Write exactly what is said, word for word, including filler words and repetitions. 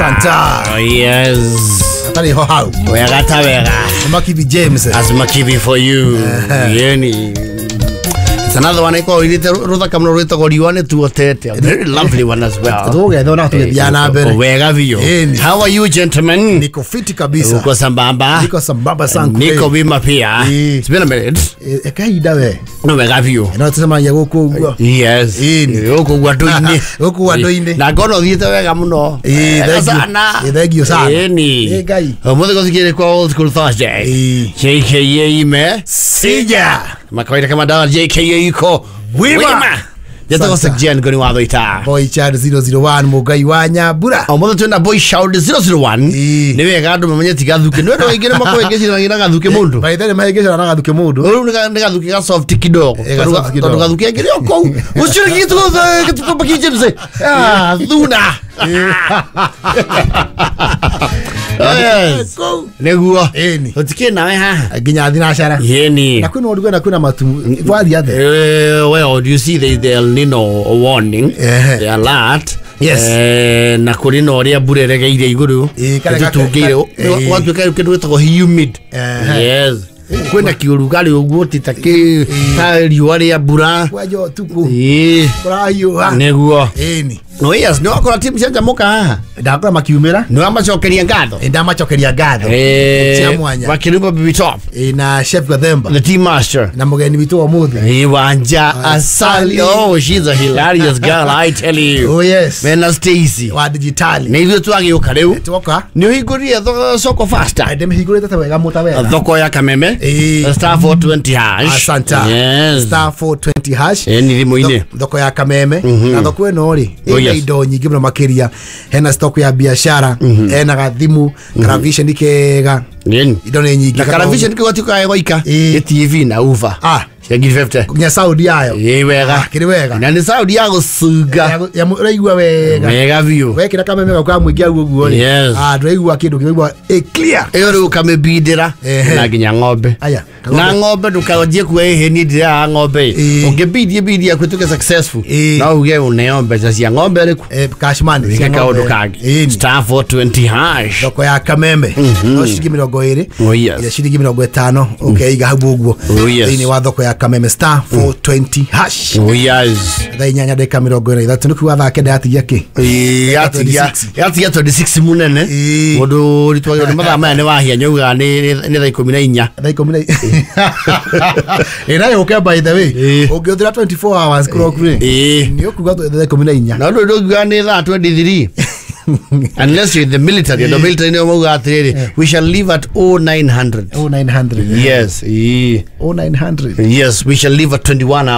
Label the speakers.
Speaker 1: Asanta.
Speaker 2: Oh, yes.
Speaker 1: Atari ho hau.
Speaker 2: Wega ta wega.
Speaker 1: Makibi James.
Speaker 2: As Makibi for you. Yeni. It's another one iko irite ruthaka muno rwitagwo riũa nĩ tuotete. A very lovely one as well.
Speaker 1: Tũgũgethwo na tũgĩthiaga na mbere.
Speaker 2: Wega biũ.
Speaker 1: Ĩni.
Speaker 2: How are you gentlemen?
Speaker 1: Niko fiti kabisa.
Speaker 2: Uko sambamba?
Speaker 1: Niko sambamba sana.
Speaker 2: Niko wima pia.
Speaker 1: Ĩ.
Speaker 2: It's been a minute.
Speaker 1: E kahinda we.
Speaker 2: No wega biũ.
Speaker 1: No tũcemanagia gũkũ ũguo.
Speaker 2: Yes.
Speaker 1: Ĩni.
Speaker 2: Gũkũ ũguo andũ-inĩ.
Speaker 1: Gũkũ andũ-inĩ.
Speaker 2: Na ngona ũthiĩte wega mũno.
Speaker 1: Ĩ,
Speaker 2: Wega
Speaker 1: thank you.
Speaker 2: sana.
Speaker 1: Ĩ, thank you sana.
Speaker 2: Ĩni.
Speaker 1: Ĩ, Ngai.
Speaker 2: Ũmũthĩ gũthikĩrĩria kwa Old School Thursday.
Speaker 1: Ĩ.
Speaker 2: J K A ime.
Speaker 1: Sija.
Speaker 2: Makawaida kama dawa J K A iko
Speaker 1: Wima.
Speaker 2: Njĩtagwo
Speaker 1: Sasa.
Speaker 2: Jen Ngoni wa Thũita.
Speaker 1: Boy Child zero zero one Mũngai wa Nyambura.
Speaker 2: Ũmũthĩ twĩna Boy Child zero zero one.
Speaker 1: Ĩ.
Speaker 2: Nĩ wega andũ mamenye ti gathuke. Nĩ andũ aingĩ nĩ makwĩngĩciragia na gathuke mũndũ.
Speaker 1: By the way mahĩngĩcana na gathuke mũndũ.
Speaker 2: Rĩu nĩ ga- nĩ gathuke ga soft kidogo.
Speaker 1: Ĩ, ga
Speaker 2: Tondũ
Speaker 1: soft
Speaker 2: ga-
Speaker 1: kidogo.
Speaker 2: Tondũ gathuke angĩ nĩ o kũu. Ũcio nĩ gĩtugo gĩtugo Baki James. Ah, thuna. Yes.
Speaker 1: Kũu.
Speaker 2: Nĩguo.
Speaker 1: Ĩni.
Speaker 2: Tũtikĩrĩ nawe haha.
Speaker 1: Nginya thinacara.
Speaker 2: Yeni.
Speaker 1: Na kwĩna ũrugarĩ na kwĩna matu. Wathiĩ atĩa?
Speaker 2: Uh, well, you see the, the El Nino warning,
Speaker 1: Ehe.
Speaker 2: the alert.
Speaker 1: Yes.
Speaker 2: Eh, na kũrĩ na ũrĩa mbura ĩregeire igũrũ
Speaker 1: Ĩ, kare gaka-
Speaker 2: ĩtũtungĩire
Speaker 1: ĩ.
Speaker 2: gwatuĩka rĩu kĩndũ gĩtagwo humid.
Speaker 1: Ehe.
Speaker 2: Yes. Kwĩna kĩũrugarĩ ũguo ti ta kĩ ta riũa rĩa mbura.
Speaker 1: Kwanja ũtukũ.
Speaker 2: Ĩ,
Speaker 1: Kũrahiũha.
Speaker 2: nĩguo.
Speaker 1: Ĩni.
Speaker 2: No yes, nĩ wakora timu cia Njamuka haha.
Speaker 1: Ndakora makiumĩra.
Speaker 2: Nĩ wamacokeria ngatho.
Speaker 1: Ĩ, ndamacokeria ngatho.
Speaker 2: Eh,
Speaker 1: Cia mwanya.
Speaker 2: Wakirumba Baby Top,
Speaker 1: Ĩ, na Chef Gathemba.
Speaker 2: the team master.
Speaker 1: Na mũgeni witũ wa ũmũthĩ.
Speaker 2: Iwanja Asali. Oh, she's a hilarious girl, I tell you.
Speaker 1: Oh yes.
Speaker 2: Mena Stacy.
Speaker 1: Wa digitali.
Speaker 2: Nĩ ithuĩ twagĩũka rĩu.
Speaker 1: Twoka.
Speaker 2: Nĩ ũhingũrire tho- soko faster.
Speaker 1: Ndĩmĩhingũrĩte ta wega mũta wega.
Speaker 2: Thoko ya Kameme.
Speaker 1: Ĩ.
Speaker 2: Star four twenty hash.
Speaker 1: Asanta.
Speaker 2: Yes.
Speaker 1: Star four twenty hash.
Speaker 2: Ĩ, nĩ thimũ-inĩ.
Speaker 1: Tho- Thoko ya Kameme. Na thoko ĩno rĩ,
Speaker 2: Oh,
Speaker 1: ĩna
Speaker 2: yes.
Speaker 1: indo nyingĩ mũno makĩria. Hena stock ya biashara, hena gathimu, karavision kega.
Speaker 2: Ĩni.
Speaker 1: Indo nĩ nyingĩ.
Speaker 2: Na karavision kĩu gatuĩkaga gwaika.
Speaker 1: Ĩ.
Speaker 2: Nĩ T V na uva.
Speaker 1: Ah.
Speaker 2: Cia ngiri fifty.
Speaker 1: Nginya sound yayo.
Speaker 2: Ĩ wega.
Speaker 1: Ah, kĩrĩ wega.
Speaker 2: Na nĩ sound ya gũcunga.
Speaker 1: Ya- ya- Ũraigua wega.
Speaker 2: Wega biũ.
Speaker 1: Wekĩra kameme gau ka mũingĩ hau ũguo rĩ.
Speaker 2: Yes.
Speaker 1: Ah, ndũraigua kĩndũ kĩraigua ĩ clear.
Speaker 2: Ĩyo rĩu ũkamĩbindĩra
Speaker 1: Ehe.
Speaker 2: na nginya ng'ombe.
Speaker 1: Aya.
Speaker 2: Na ng'ombe ndũkanjie kuga ĩhĩ niĩ ndirĩaga ng'ombe ĩ.
Speaker 1: Ĩ.
Speaker 2: Ũngĩbindie bindi yaku ĩtuĩke successful
Speaker 1: Ĩ.
Speaker 2: no uge ũneo mbeca cia ng'ombe ĩrĩkũ.
Speaker 1: Eh, cash money.
Speaker 2: Wĩke
Speaker 1: Cia ng'ombe.
Speaker 2: kaũndũ kangĩ.
Speaker 1: Ĩni.
Speaker 2: Star four twenty hash.
Speaker 1: Thoko ya Kameme. No ciringi mĩrongo ĩrĩ.
Speaker 2: Oh, yes.
Speaker 1: Ira ciringi mĩrongo ĩtano ũkeiga hau ũguo.
Speaker 2: Oh, yes.
Speaker 1: Thĩinĩ wa thoko ya Kameme star four twenty hash.
Speaker 2: Oh, yes.
Speaker 1: Thaa inyanya ndagĩka mĩrongo ĩna na ithatũ nĩ kuga thaa kenda yatigia kĩ?
Speaker 2: Ĩ, yatigia
Speaker 1: twenty-six.
Speaker 2: yatigia twenty-six mũnene.
Speaker 1: Ĩ.
Speaker 2: Mũndũ ũritwagĩrwo nĩ mathaa maya nĩ wahia nyaugaga nĩ nĩ thaa ikũmi na inya.
Speaker 1: Thaa ikũmi na Ĩ, na yũke by the way.
Speaker 2: Ĩ.
Speaker 1: Ũngĩhũthĩra twenty-four hours clock rĩ.
Speaker 2: Ĩ.
Speaker 1: Nĩ ũkuga thaa ikũmi na inya.
Speaker 2: Na ũndũ ndũngiuga nĩ thaa twenty-three. Unless you're in the military. The military nĩo maugaga atĩrĩrĩ, we shall leave at oh nine hundred.
Speaker 1: oh nine hundred.
Speaker 2: Yes. Ĩ.
Speaker 1: oh nine hundred.
Speaker 2: Yes, we shall leave at twenty-one hours.